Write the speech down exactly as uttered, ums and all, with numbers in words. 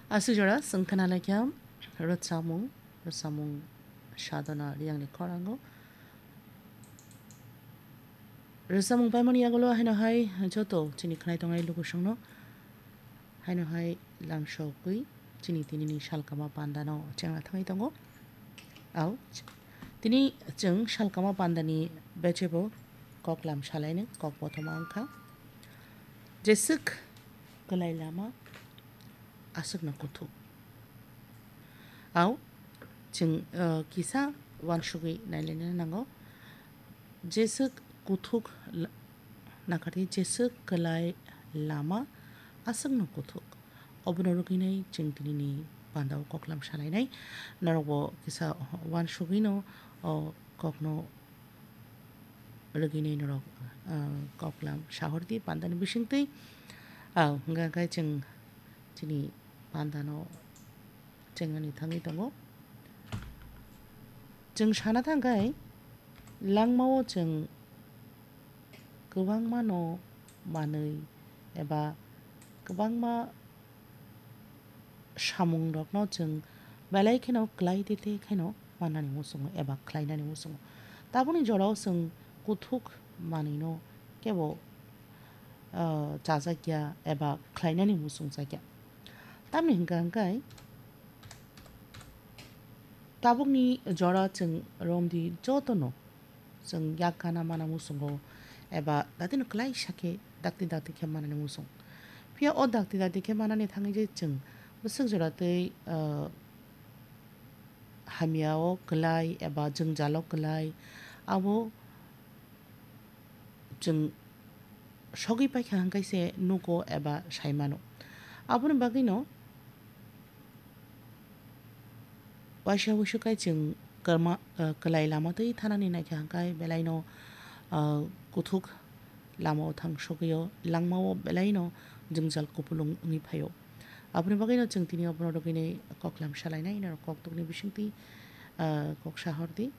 Aswk jora chwng khna laikha rwchapmung, rwchapmung Sadhana Riyangni khorango. Rwchapmung paimani yagulo haino hai joto chini khnai tongnai lukusongno haino hai lamsogwi chini tinini salkama pandano chengna thangwi tongo. Au, tini chwng salkama pandani bechebo koklam salaini kok bothoma wngkha. Jeswk kwlai lama aswkno kuthuk. Au, chwng, uh, kisa uansugwi nailaina nango. Jeswk kuthuk la-, nakardi, jeswk kwlai lama aswkno kuthuk. Obono rwgwinai chwng tinini pandao koklam salainai. Norokbo kisa uansugwino o kokno rwgwinai norok, ah, koklam sahordi pandani bisingtwi. Ah, hwnkha khe chwng chini pandano chengnani thangwi tongo. Chwng sana thangkhai langmao chwng kwbangmano manwi eba kwbangma samungrokno chwng belai kheno kwlai tete kheno mannani muchungo eba khlainani muchungo. Tabukni jorao chwng kuthuk manwino kebo, ah, chajakya eba khlainani muchungjakya. Tamni hwnkha hwnkhe tabukni jora chwng romdi jotono chwng yak gana mana muchungo eba datino kwlaisa khe dakti dakti khe manani muchung. Phiya o dakti dakti khe manani thangwi je chwng bwswk jora tei, ah, hamyao kwlai eba jwngjalo kwlai abo chwng sogwi paikha hwnkhe se nugo eba saimano. Aboni bagwino waisa wuisu kai chwng kwrma-, ah, kwlai lama twi thanani naikha hwnkhe belaino, ah, kuthuk lamao thang sogwio langmao belaino jwngjal kupulung wngwi phaio. Aboni bagwino chwng tini obono rwgwinai koklam salainai norok koktukni bisingtwi, ah, kok sahordi.